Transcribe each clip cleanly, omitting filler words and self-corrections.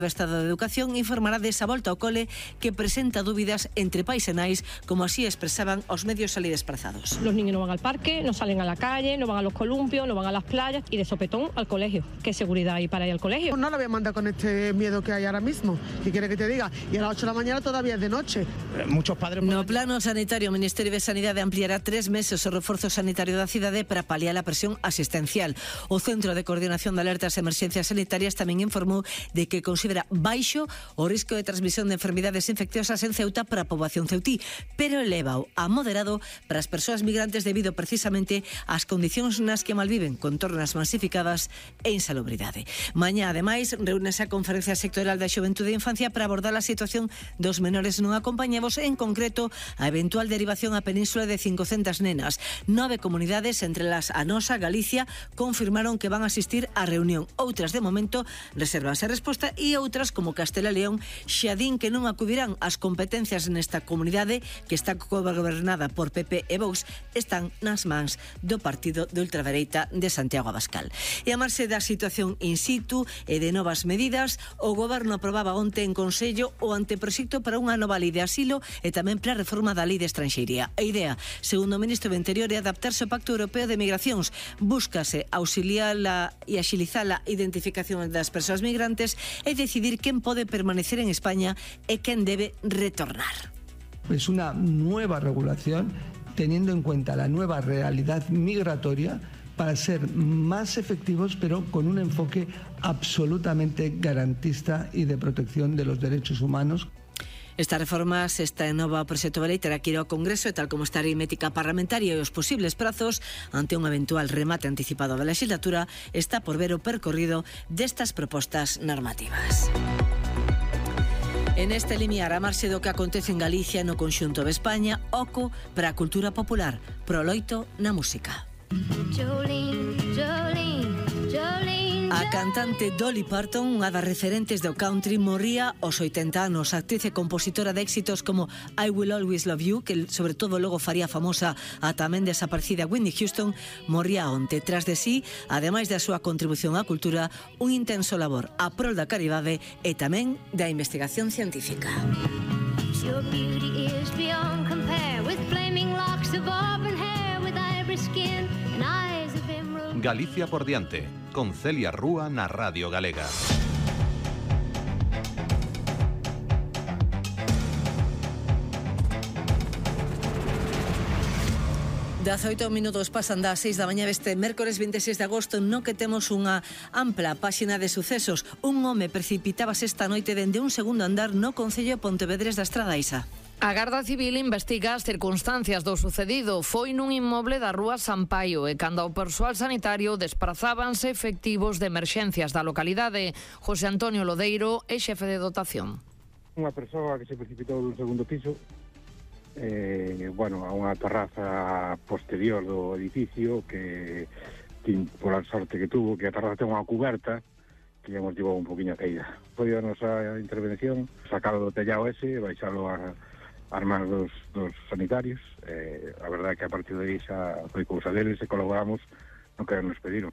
O Estado de Educación informará desa volta ao cole que presenta dúbidas entre pais e nais, como así expresaban os medios ali desplazados. Los niños no van al parque, no salen a la calle, no van a los columpios, no van a las playas y de sopetón al colegio. ¿Qué seguridad hay para ir al colegio? No la voy a mandar con este miedo que hay ahora mismo. ¿Qué quiere que te diga? Y a las 8 de la mañana todavía es de noche. Muchos padres... No plano sanitario, o Ministerio de Sanidade ampliará 3 meses o reforzo sanitario da cidade para paliar a presión asistencial. O Centro de Coordinación de Alertas e Emerxencias Sanitarias tamén informou de que considera baixo o risco de transmisión de enfermidades infecciosas en Ceuta para a poboación ceutí, pero eleva-o a moderado para as persoas migrantes debido precisamente ás condicións nas que malviven, con tornas masificadas e insalubridade. Mañá, ademais, reúnese a Conferencia Sectorial da Xuventude e Infancia para abordar a situación dos menores non acompañados, en concreto a eventual derivación á península de 500 nenas. 9 comunidades, entre las a nosa, Galicia, confirmaron que van a asistir á reunión. Outras, de momento, reservanse a resposta e outras, como Castela e León, xa din que non acudirán. As competencias nesta comunidade, que está gobernada por PP e Vox, están nas mans do partido de ultradereita de Santiago Abascal. E a marxe da situación in situ e de novas medidas, o Goberno aprobaba onte en Consello o anteproxecto para unha nova lei de asilo e tamén para a reforma da lei de estranxeiría. A idea, segundo o ministro do Interior, é adaptarse ao Pacto Europeo de Migracións. Búscase auxiliala e axilizar a identificación das persoas migrantes e decidir quen pode permanecer en España e quen debe retornar. Es una nueva regulación teniendo en cuenta la nueva realidad migratoria para ser más efectivos, pero con un enfoque absolutamente garantista y de protección de los derechos humanos. Estas reformas, esta nova proxecto de lei terá que ir ao Congreso e tal como está a aritmética parlamentaria e os posibles prazos ante un eventual remate anticipado da legislatura, está por ver o percorrido destas propostas normativas. En este limiar, a marxe do que acontece en Galicia no conxunto de España, oco para a cultura popular, proloito na música. Jolene, Jolene, Jolene. A cantante Dolly Parton, unha das referentes do country, morría aos 80 anos. A actriz e compositora de éxitos como I Will Always Love You, que sobre todo logo faría famosa a tamén desaparecida Whitney Houston, morría onte. Tras de sí, ademais da súa contribución á cultura, un intenso labor a prol da caridade e tamén da investigación científica. Your beauty is beyond compare, with flaming locks of auburn hair, with ivory skin and eyes of emerald. Galicia por diante, con Celia Rúa na Radio Galega. Das 8 minutos pasan das 6 da mañá deste mércores 26 de agosto, no que temos unha ampla páxina de sucesos. Un home precipitábase esta noite dende un segundo andar no concello de Pontevedres da Estrada, Isa. A Garda Civil investiga as circunstancias do sucedido. Foi nun inmoble da rúa Sampaio e cando o persoal sanitario desprazábanse efectivos de emerxencias da localidade. José Antonio Lodeiro é xefe de dotación. Unha persoa que se precipitou dun segundo piso a unha terraza posterior do edificio que pola sorte que tuvo, que a terraza ten unha cuberta que lle motivou un poquinho a caída. Foi a nosa intervención sacalo do tellado ese, baixalo as mans dos sanitarios. A verdade é que a partir de aí xa foi cousa deles e colaboramos no que nos pediron.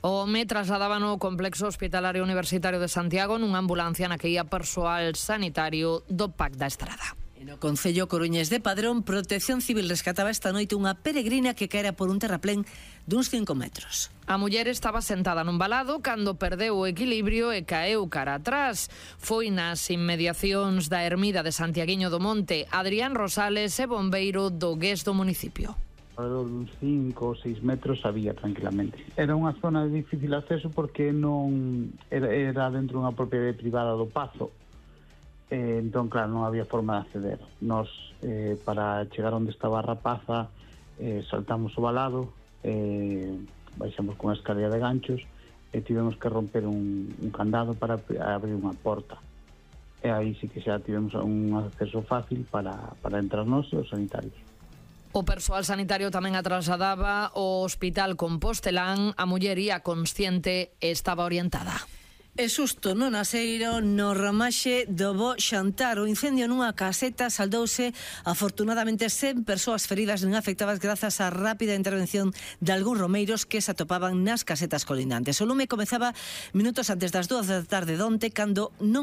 O home trasladaba no complexo hospitalario universitario de Santiago nunha ambulancia na que ia persoal sanitario do PAC da Estrada. No concello coruñés de Padrón, Protección Civil rescataba esta noite unha peregrina que caera por un terraplén duns 5 metros. A muller estaba sentada nun valado cando perdeu o equilibrio e caeu cara atrás. Foi nas inmediacións da ermida de Santiaguiño do Monte. Adrián Rosales é bombeiro do GES do municipio. Alrededor duns 5 ou 6 metros había tranquilamente. Era unha zona de difícil acceso porque non era dentro dunha propiedade privada do Pazo. Entón, claro, non había forma de acceder. Nos, para chegar onde estaba a rapaza, saltamos o valado, baixamos con a escalera de ganchos e tivemos que romper un candado para abrir unha porta. E aí sí que xa tivemos un acceso fácil para entrar nos e os sanitarios. O persoal sanitario tamén a trasladaba ao hospital Compostelán. A muller ia consciente e estaba orientada. E susto no Naseiro, no ramaxe do bo xantar. O incendio nunha caseta saldouse afortunadamente sen persoas feridas nin afectadas grazas á rápida intervención de algúns romeiros que se atopaban nas casetas colindantes. O lume comezaba minutos antes das 2 da tarde donte cando non